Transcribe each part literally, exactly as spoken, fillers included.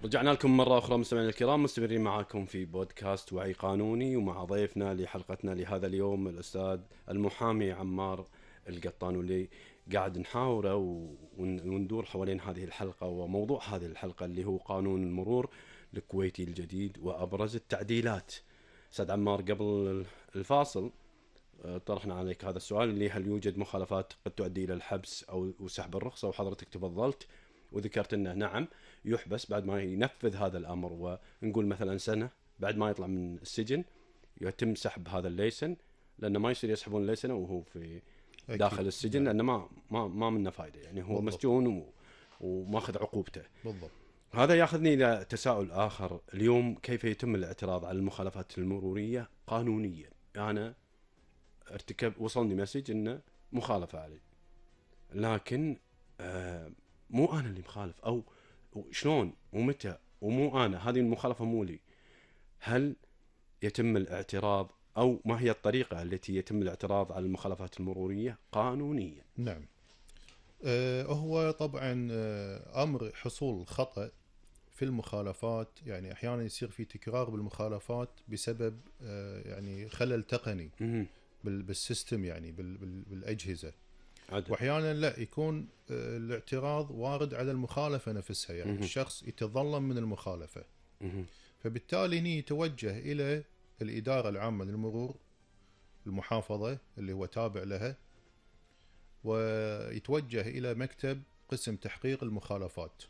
رجعنا لكم مرة أخرى مستمعينا الكرام، مستمرين معاكم في بودكاست وعي قانوني، ومع ضيفنا لحلقتنا لهذا اليوم الأستاذ المحامي عمار القطان، واللي قاعد نحاوره وندور حوالين هذه الحلقة وموضوع هذه الحلقة اللي هو قانون المرور الكويتي الجديد وأبرز التعديلات. أستاذ عمار، قبل الفاصل طرحنا عليك هذا السؤال اللي هل يوجد مخالفات قد تؤدي إلى الحبس أو سحب الرخصة، وحضرتك تفضلت وذكرت أنه نعم يحبس بعد ما ينفذ هذا الأمر، ونقول مثلا سنة بعد ما يطلع من السجن يتم سحب هذا الليسن، لأنه ما يصير يسحبون الليسن وهو في داخل السجن، لأنه ما ما ما منه فايدة، يعني هو بالضبط. مسجون وماخذ عقوبته بالضبط. هذا ياخذني إلى تساؤل آخر اليوم، كيف يتم الاعتراض على المخالفات المرورية قانونيا؟ أنا ارتكب وصلني مسج إنه مخالفة علي، لكن آه مو أنا اللي مخالف، أو شلون ومتى ومو أنا، هذه المخالفة مو لي. هل يتم الاعتراض أو ما هي الطريقة التي يتم الاعتراض على المخالفات المرورية قانونيا؟ نعم. آه هو طبعا آه أمر حصول خطأ في المخالفات، يعني أحيانا يصير في تكرار بالمخالفات بسبب آه يعني خلل تقني بالسيستم، يعني بالأجهزة، عدل. واحيانا لا يكون الاعتراض وارد على المخالفه نفسها، يعني مه. الشخص يتظلم من المخالفه، مه. فبالتالي هنا يتوجه الى الاداره العامه للمرور المحافظه اللي هو تابع لها، ويتوجه الى مكتب قسم تحقيق المخالفات،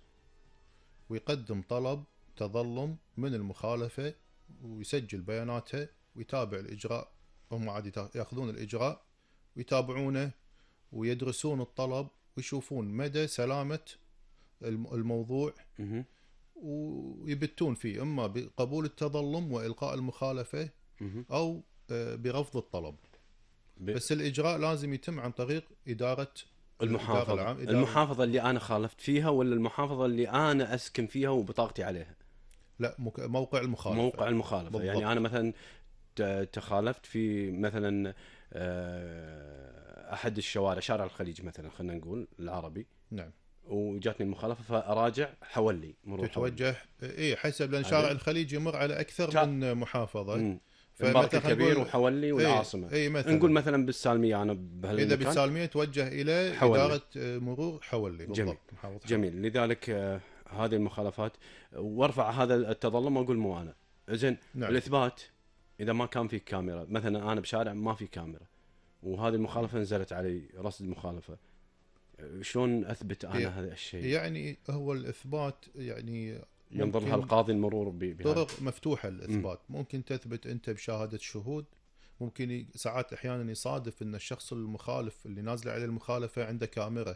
ويقدم طلب تظلم من المخالفه، ويسجل بياناتها ويتابع الاجراء. هم عاد ياخذون الاجراء ويتابعونه ويدرسون الطلب ويشوفون مدى سلامة الموضوع ويبتون فيه، إما بقبول التظلم وإلقاء المخالفة أو برفض الطلب. بس الإجراء لازم يتم عن طريق إدارة المحافظة الإدارة العام. إدارة المحافظة اللي أنا خالفت فيها، ولا المحافظة اللي أنا أسكن فيها وبطاقتي عليها؟ لا، موقع المخالفة. موقع المخالفة بالضبط. يعني أنا مثلا تخالفت في مثلا أحد الشوارع، شارع الخليج مثلا، خلينا نقول العربي، نعم، وجاتني المخالفة فأراجع حولي مرور، تتوجه إيه حسب، لأن شارع الخليج يمر على أكثر شا... من محافظة، فمثلا الكبير وحولي والعاصمة، إيه مثلا نقول مثلا بالسالمية، أنا بهالمكان إذا بالسالمية توجه إلى حولي. إدارة مرور حولي بالضبط. جميل. جميل. لذلك آه هذه المخالفات وارفع هذا التظلم واقول مو أنا. إذن نعم. الإثبات إذا ما كان في كاميرا، مثلا أنا بشارع ما في كاميرا وهذه المخالفة نزلت علي رصد مخالفة، شلون أثبت أنا هذا الشيء؟ يعني هو الإثبات يعني ينظر لها القاضي المرور بهذا طرق مفتوحة للإثبات. م. ممكن تثبت أنت بشهادة شهود، ممكن ساعات أحيانا يصادف أن الشخص المخالف اللي نازل عليه المخالفة عنده كاميرا،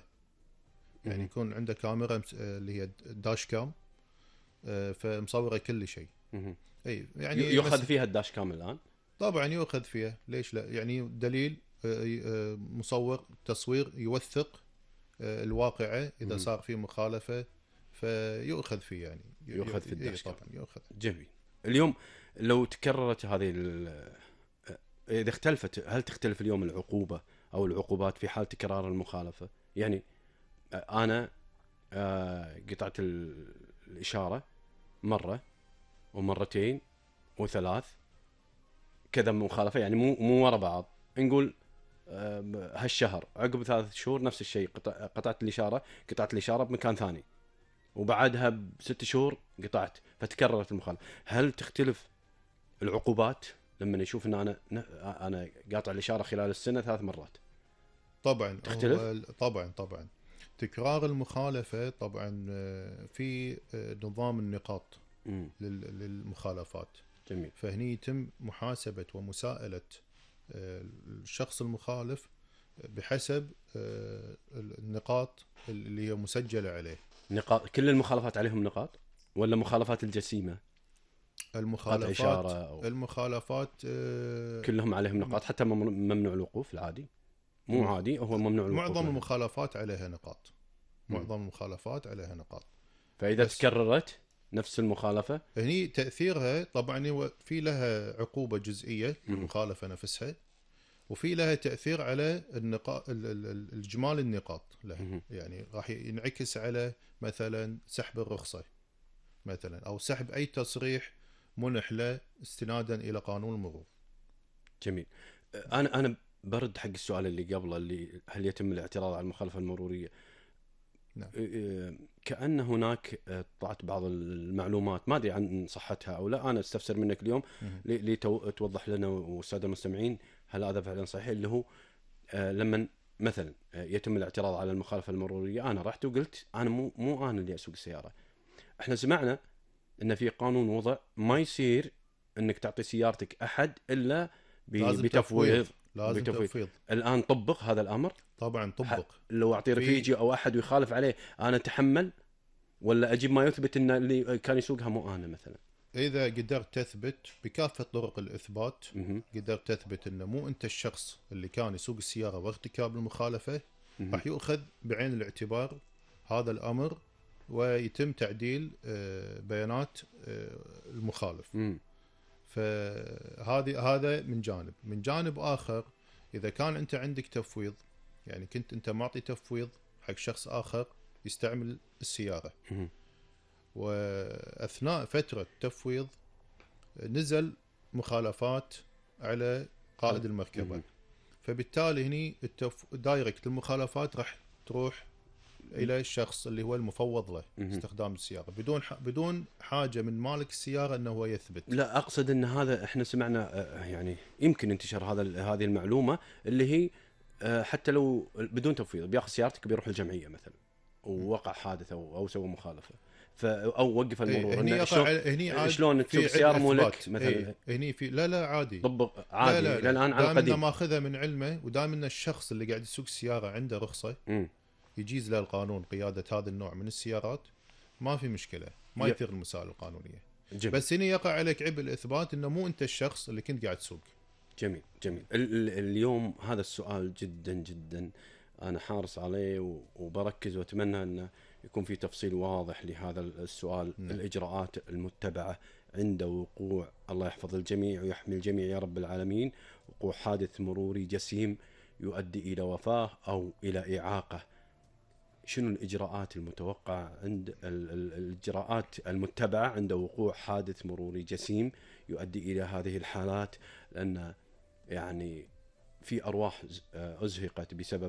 يعني م. يكون عنده كاميرا اللي هي داش كام فمصورة كل شيء. أي يعني يؤخذ فيها الداش كام الآن؟ طبعا يؤخذ فيها، ليش لا؟ يعني دليل مصور تصوير يوثق الواقعة إذا صار في مخالفة فيؤخذ فيه، يعني يؤخذ في الداش طبعا يؤخذ. جميل. اليوم لو تكررت هذه إذا اختلفت، هل تختلف اليوم العقوبة أو العقوبات في حال تكرار المخالفة؟ يعني أنا قطعت الإشارة مرة ومرتين وثلاث كذا مخالفة، يعني مو مو ورا بعض، نقول هالشهر عقب ثلاث شهور نفس الشيء، قطعت الإشارة قطعت الإشارة بمكان ثاني، وبعدها بست شهور قطعت، فتكررت المخالفة. هل تختلف العقوبات لما نشوف ان انا انا قاطع الإشارة خلال السنة ثلاث مرات؟ طبعا تختلف. طبعا طبعا تكرار المخالفة طبعا في نظام النقاط م. للمخالفات. جميل. فهني يتم محاسبة ومساءلة الشخص المخالف بحسب النقاط اللي هي مسجلة عليه. نقاط كل المخالفات عليهم نقاط ولا مخالفات الجسيمة؟ المخالفات أو... المخالفات كلهم عليهم نقاط، حتى ممنوع الوقوف العادي مو عادي، هو ممنوع الوقوف. معظم المخالفات عليها نقاط، معظم المخالفات عليها نقاط. فإذا بس... تكررت نفس المخالفة هني تأثيرها طبعا في لها عقوبة جزئية المخالفة نفسها، وفي لها تأثير على النقاط الجمال النقاط لها، يعني راح ينعكس على مثلا سحب الرخصة، مثلا، او سحب اي تصريح منح له استنادا الى قانون المرور. جميل. انا انا برد حق السؤال اللي قبله، اللي هل يتم الاعتراض على المخالفه المروريه؟ نعم. كأن هناك طلعت بعض المعلومات، ما ادري عن صحتها او لا، انا استفسر منك اليوم لتوضح لنا والساده المستمعين هل هذا فعلا صحيح، اللي هو لما مثلا يتم الاعتراض على المخالفه المروريه، انا رحت وقلت انا مو مو انا اللي اسوق السياره. احنا سمعنا ان في قانون وضع ما يصير انك تعطي سيارتك احد الا بتفويض. لازم بتفويض. تفويض. الان طبق هذا الامر؟ طبعا طبق. لو اعطي رفيجي او احد ويخالف عليه انا اتحمل، ولا اجيب ما يثبت ان اللي كان يسوقها مو انا مثلا؟ اذا قدرت تثبت بكافه طرق الاثبات، مه. قدرت تثبت انه مو انت الشخص اللي كان يسوق السياره وارتكاب المخالفه، مه. راح يؤخذ بعين الاعتبار هذا الامر ويتم تعديل بيانات المخالف. مه. فهذه هذا من جانب. من جانب اخر، اذا كان انت عندك تفويض، يعني كنت انت معطي تفويض حق شخص اخر يستعمل السياره، مه. واثناء فتره التفويض نزل مخالفات على قائد المركبه، مه. فبالتالي هني التف... دايركت المخالفات راح تروح الى الشخص اللي هو المفوض له مه. استخدام السياره، بدون ح... بدون حاجه من مالك السياره انه هو يثبت. لا، اقصد ان هذا احنا سمعنا يعني يمكن انتشر هذا هذه المعلومه اللي هي حتى لو بدون تفويض بياخذ سيارتك بيروح الجمعيه مثلا ووقع حادث او او سوى مخالفه، ف او وقف المرور. هني شلون هني شلون تسوق سياره مو لك مثلا؟ ايه هني في لا لا عادي طبق عادي. لا لا لا. الان على القديم ماخذها من علمه، ودام ان الشخص اللي قاعد يسوق السياره عنده رخصه م. يجيز له القانون قياده هذا النوع من السيارات، ما في مشكله، ما يثير المسائل القانونيه. جميل. بس هنا يقع عليك عبء الاثبات انه مو انت الشخص اللي كنت قاعد تسوق. جميل جميل. اليوم هذا السؤال جدا جدا انا حارس عليه وبركز، واتمنى انه يكون في تفصيل واضح لهذا السؤال. م. الاجراءات المتبعه عند وقوع، الله يحفظ الجميع ويحمي الجميع يا رب العالمين، وقوع حادث مروري جسيم يؤدي الى وفاه او الى اعاقه. شنو الإجراءات المتوقعة عند الإجراءات المتبعة عند وقوع حادث مروري جسيم يؤدي إلى هذه الحالات؟ لأن يعني في أرواح أزهقت بسبب